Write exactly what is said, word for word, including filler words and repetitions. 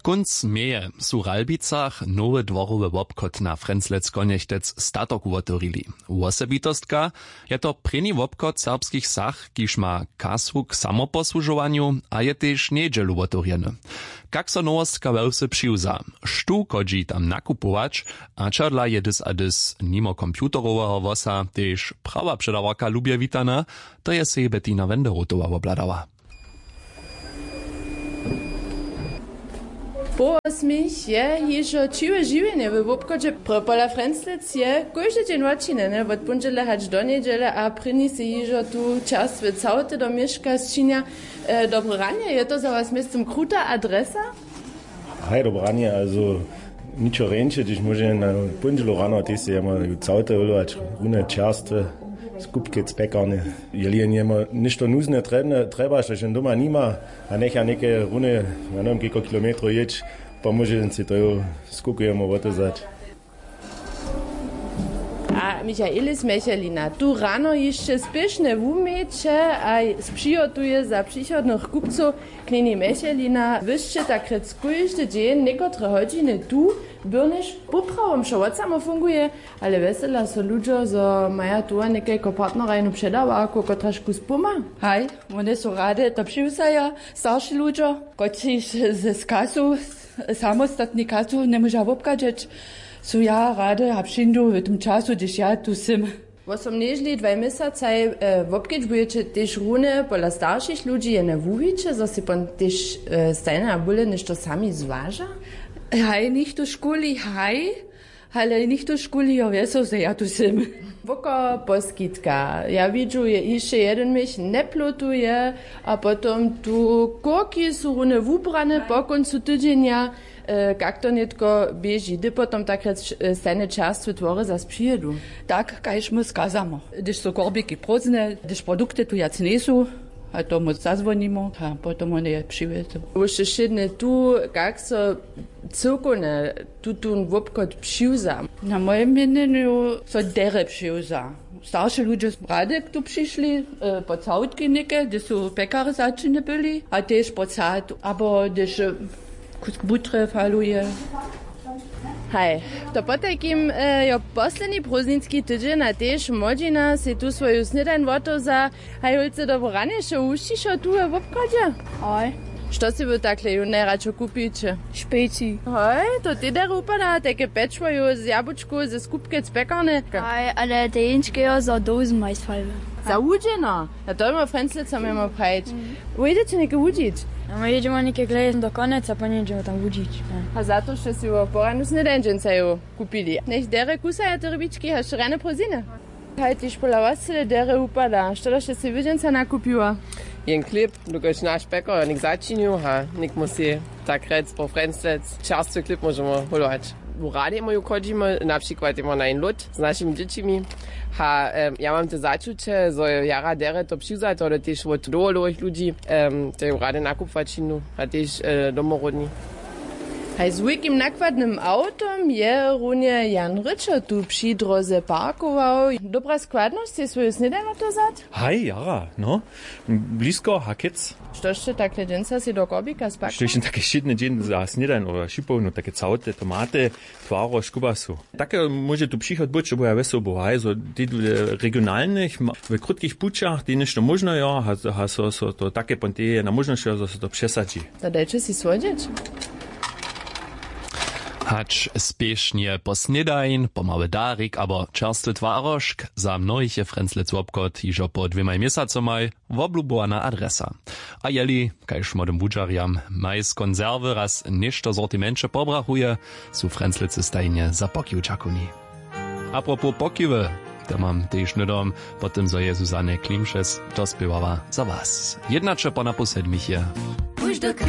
Kónc meje su w Ralbicach nowy dworowy wobchod na Frjenslec Konjechtec Statok wotewrili. Wosebitostka je to prěni wobchod w serbskich wsach, kiž ma kasu k samoposłužowanju a je tež njedźelu wotewrjeny. Kak so nowostka we wsy přiwza, štó chodźi tam nakupować, a čadla je dys a dys nimo computeroweho włosa tež prawa předawarka lubje witana. To je sej Bettina Wenderotowa wobhladała. Połosmich je hižo ćiwe žiwjenje we wobchodźe. Prpola Frjenslec je kóždy dźeń wočinjeny wot póndźele hač do njedźele a prěni sej hižo tu čerstwe całty do měška sčinja. E, dobre ranje, je to za was městym kruta adresa? Haj, dobre ranje, also ničo rjeńše, hdyž móže na póndźelu rano, tež sej jemu całty wylować, rune čerstwe, skupkec, pjekarnje. Jeli jen jemu něšto nuzne, trjebne, trjeba, štož jen doma nima, a njecha něke rune, ja njewěm, kejko kilometrow jěć, pomóže jen sej to jo, skukujemo wotewzać. A Michaelis Mechelina, tu rano hišće spěšnje wuměće a spřihotuje za přichodnych kupcow. Knjeni Mechelina, wy sće tak rjec kóždy dźeń někotre hodźiny tu, byrnjež poprawom wšo wot samo funguje, ale wjesela so ludźo, zo maja tu a někajko partnerajnu předawarku, kotraž kus poma. Haj, wone su rady to přiwzaja, starši ludźo, kotřiž z, z kasu, samostatni kasu njemóža wobchadźeć, su ja rady a přińdu w tym času, hdyž ja tu sym. Wosomnježli dwaj měsacaj, e, wobkedźbujeće tež rune pola staršich ludźi, jene wuwiće, zo sej pon tež, e, stajnje a bóle něšto sami zwaža? Haj, nichtó škuli, haj, ale nichtó škuli, jo, wjeso, zo ja tu sym. Woko poskitka. Ja widźu, je hišće jedyn měch njeplotuje, a potom tu kórki su rune wubrane po kóncu tydźenja. E, kak to nětko běži? Hdy potom tak rjec, e, stajne čerstwe twory zas přijedu? Tak, kaž my skazamo. Hdyž su korbiki prózdne, hdyž produkty tu wjac njejsu, a tomu zazwonimo, a potom wone je přiwjezu. Wóšte wšědne tu, kak so cyłkownje tutón wobchod přiwza? Na mojim měnjenju so derje přiwza. Starši ludźe rady tu přišli, e, po całtki něke, hdyž su pjekarje začinje byli, a tež po sad, abo hdyž, e, kusk butre faluje. Haj, to potajkim, e, jo, posledni prózdninski tydźeń a tež młodźina sej tu swoju snědań wotewza. Haj, hólcy, dobre ranje, wšo wušćišo tu we wobchodźe? Haj. Što sej wy takle jónu najradšo kupiće? Špeci. Hoj, to tež derje wupada, tajke pječło z jabučkow, ze skupkec, pjekarnje. Haj, ale te jeńčke jo, za dołzyn majstwalby. Za wudźeno? A to běmo Frjenslec, co měmo prajić. Wójdeće něke wudźić? A my jědźemo něke gleje do Konjeca, po nějdźemo tam wudźić. A za to, što sej wo poranu snědań dźensa jo kupili. Njech derje kusaja te rybički, haž rjane prózdniny. Haj, tež pola was cyle derje wupada. Što da sće sej wy dźensa nakupiła? Jen chlěb, dokelž naš pjekar něk začinił, ha, něk móhł sej tak rjec po Frjenslec čerstwy chlěb móžemy hólować. W Radej móju chodźimy, na přikład jemo na jen lód z našimi dźěćimi. Ha, em, ja mam te začuće, zo je jara derje to přiwzato, ale tež wot dołho dołhich ludźi, em, te w Radej nakupować činu, a tež, e, domoródni. Haj, z wulkim nakładnym awtom je runje Jan Ryčo tu při dróze parkował. Dobra składnosć, sej swoju snědań wotewzać? Haj, jara, no. Blisko, hakec. Što sće takle dźensa sej do korbika spakowali? Što je take wšědny dźeń za snědań, abo šipołnu, take całte, tomaty, twarožk, kubasu. Take móže tu přichod być, bo ja wjesoł był, haj, zo tež w regionalnych, ma-, w krótkich pućach, tež něšto móžno jo, ha, ha, so, so to take pon tež je na móžnosć, zo so to přesadźi. To dajće sej słodźeć. Hač spěšnje po snědań, po mały darik abo čerstwy twarožk, za mnohich je Frjenslec wobchod hižo po dwěmaj měsacomaj woblubowana adresa. A jeli, kaž młodym wudźerjam, maj z konserwy raz něšto w sortimenće pobrachuje, su Frjenslece stajnje za pokiw dźakowni. Apropos pokiwy, to mam tež hnydom, po tym zo je Zuzanne Klimšes dospěwała za was. Jednaće po napoł sedmich je.